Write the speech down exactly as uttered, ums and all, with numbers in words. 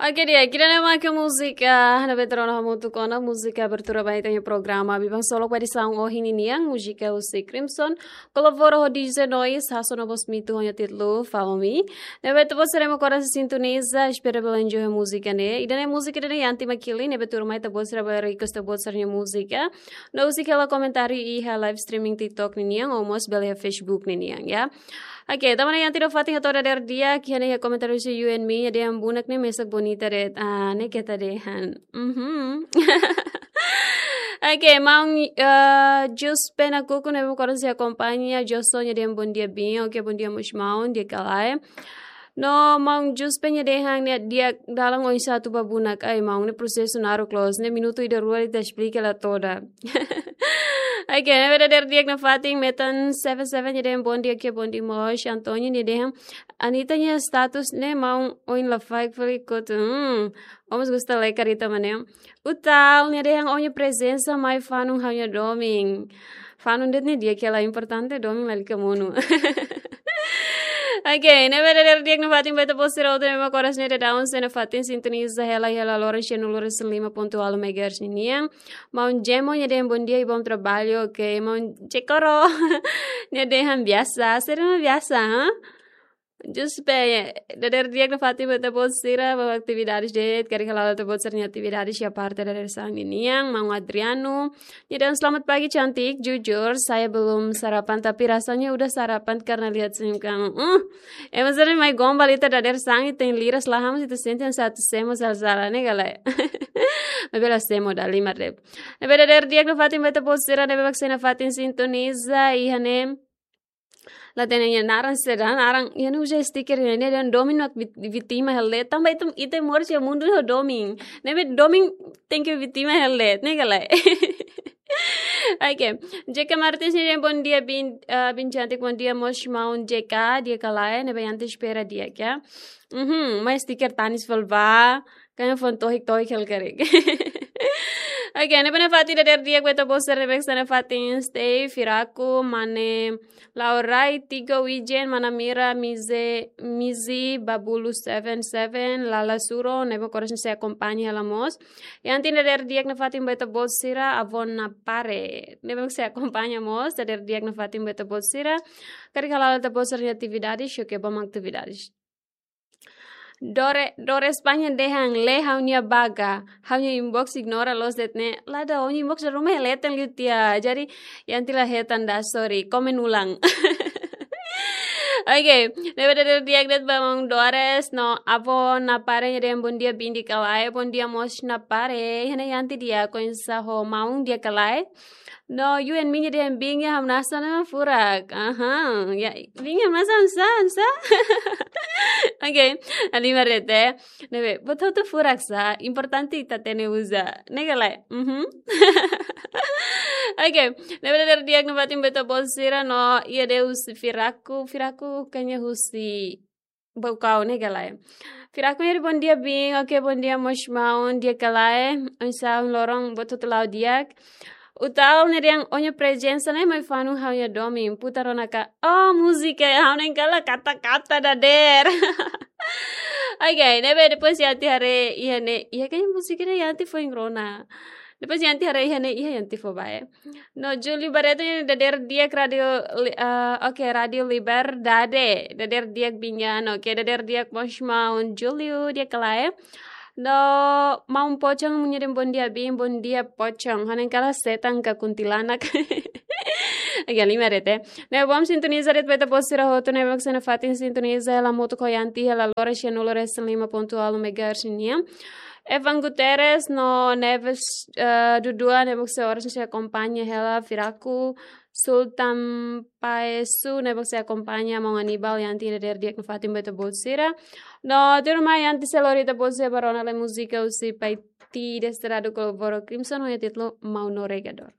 Oke, di'ak, ida-ne'e mak múzika ne'ebé ita rona hamutuk ona, múzika abertura ba ita-nia programa Biban Solok ba edisaun ohin ninian, múzika husi Crimson, kolabora ho D J Noise, hasoru no bos mitu ho nia títulu Follow Me. Ne'ebé ita-boot sira mak oras sintoniza, espera bele enjoy múzika ne'e. Ida-ne'e múzika ida-ne'e Yanti Makili, ne'ebé tuirmai ita-boot sira bele request ita-boot sira-nia múzika. No husik hela komentáriu iha live streaming TikTok ninian, ou mós bele iha Facebook ninian, ya. Oke, tanba ne'e Yanti nafatin hato'o dadeer di'ak, iha ne'e iha komentáriu husi You and Me, nia dehan bunak ne'e mesak bonita de'it, ah, ne'e keta dehan. Mhm. Oke, maun, eh, Jus Pena Kuku ne'ebé mak oras sei akompaña, Joso nia dehan bom dia bin, oke, bom dia mós maun, di'ak ka lae. No maun Jus Pena dehan ne'e di'ak dalan oinsá atu ba bunak, ai maun ne'e prosesu naruk loos, ne'e minutu ida rua ita esplika la toda. Oke, ne'ebé dadeer di'ak nafatin, Metan seven seven nia dehan bom dia, oke, bom dia mós, Antonio nia dehan, Anita nia status ne'e maun oin la faik fali kotu, hmm, ó mós gosta lai karita manem. Utal nia dehan ó-nia prezensa mai fanun ha'u-nia domin. Fanun de'it ne'e di'ak ka lae, importante domin lalika monu. Oke, ne'ebé dadeer di'ak nafatin ba ita-boot sira hotu ne'ebé mak oras ne'e daudaun sei nafatin sintoniza hela, hela loron sianulu resin lima pontu ualu megahertz ninian. Maun Jemo nia dehan bom dia i bom trabalho, oke, maun Jekoro. Nia dehan biasa, sira mak biasa, ha? Jus Pena, dadeer di'ak nafatin ba ita-boot sira, ba atividades de'it, karik hala'o ita-boot sira-nia atividades iha parte dadeer-saan ninian, maun Adriano. Nia dehan selamat pagi cantik, jujur, saya belum sarapan, tapi rasanya udah sarapan karena lihat senyum kamu. Uh, ema sira mai gombal ita dadeer-saan, ita-nia liras la hamoos, ita sente hanesan atu semo sala-sala, ne'e ka lae. Maibé la semo, dala ruma de'it. Ne'ebé dadeer di'ak nafatin ba ita-boot sira, ne'ebé mak sei nafatin sintoniza, iha ne'e la hatene nia naran saida, naran, iha ne'e uza stiker, iha ne'e dehan domin mak vit-, vítima hela de'it, tanba ita, ita moris iha mundu ho domin. Ne'ebé domin tenke vítima hela de'it, ne'e ka lae. Oke, J K Martins nia dehan bom dia bin, eh, bin cantik, bom dia mós maun J K, di'ak ka lae, ne'ebé Yanti espera di'ak, ya. Mhm, mai stiker tanis fali ba, kayak fon tohik-tohik hela karik. Oke, ne'ebé nafatin dadeer di'ak ba ita-boot sira, ne'ebé mak sei nafatin stay, Firaku, Mane, Laurai, Tigo, Wijen, Mana Mira, Mize, Mizi, Babulu seven seven, Lala Suro, ne'ebé mak oras ne'e sei akompaña hela mós. Yanti dadeer di'ak nafatin ba ita-boot sira, Avó Napare. Ne'ebé mak sei akompaña mós, dadeer di'ak nafatin ba ita-boot sira. Karik hala'o ita-boot sira-nia atividades, oke, ba mak atividades. Dore, Dore España dehan, lee ha'u-nia baga, ha'u-nia inbox ignora loos de'it ne'e, la dá, ó-nia inbox dala ruma hela leten liu tiha, jadi Yanti la hetan ida, sorry, komen ulang. Oke, ne'ebé dadeer di'ak de'it ba maun Dores, no Avó Napare nia dehan bom dia bin, di'ak ka lae, bom dia mós Napare, iha ne'e Yanti di'ak oinsá ho maun, di'ak ka lae. No, You and Me nia dehan bin iha hamnasa ne'e furak. Aha, ya, bin iha hamnasa, hamnasa, hamnasa. Oke, dala ruma de'it. Ne'ebé, buat hotu furak sá, importante ita hatene uza. Ne'e ka lae? Mhm. Oke, ne'ebé dadeer di'ak nafatin ba ita-boot sira no, iha de'it husi Firaku, Firaku kayaknya husi Baucau, ne'e ka lae? Firaku nia dehan bom dia bin, oke, bom dia mós maun, di'ak ka lae, oinsá ohin loron, buat hotu la'o di'ak. Utal nia dehan ó-nia prezensa ne'e mai fanun ha'u-nia domin, putar ona ka, oh, múzika, ha'u na'in-kala kata-kata dadeer. Oke, ne'ebé depois Yanti haree iha ne'e, iha kayaknya múzika ne'e Yanti foin rona. Depois Yanti haree iha ne'e, iha Yanti fó ba, eh. No, Julio Barreto nia dadeer di'ak Rádio Li-, ah, oke, Rádio Liberdade. Dadeer di'ak bin, oke, dadeer di'ak mós maun Julio, di'ak ka lae. No, maun Pocong nia dehan bom dia bin, bom dia Pocong. Ha'u na'in-kala setan ka kuntilanak. Oke, dala ruma de'it. Ne'ebé mak sintoniza de'it ba ita-boot sira hotu ne'ebé mak sei nafatin sintoniza hela hamutuk ho Yanti hela loron sianulu resin lima pontu ualu megahertz nian. Evan Guterres no Neves, eh, Dudua ne'ebé mak sei oras ne'e sei akompaña hela, Firaku, Sultan Paesu ne'ebé mak sei akompaña maun Aníbal, Yanti dadeer di'ak nafatin ba ita-boot sira. No, tuirmai Yanti sei lori ita-boot sira ba rona lai múzika husi Paiti Desterrado kolabora Crimson ho nia títulu Mau Navegador.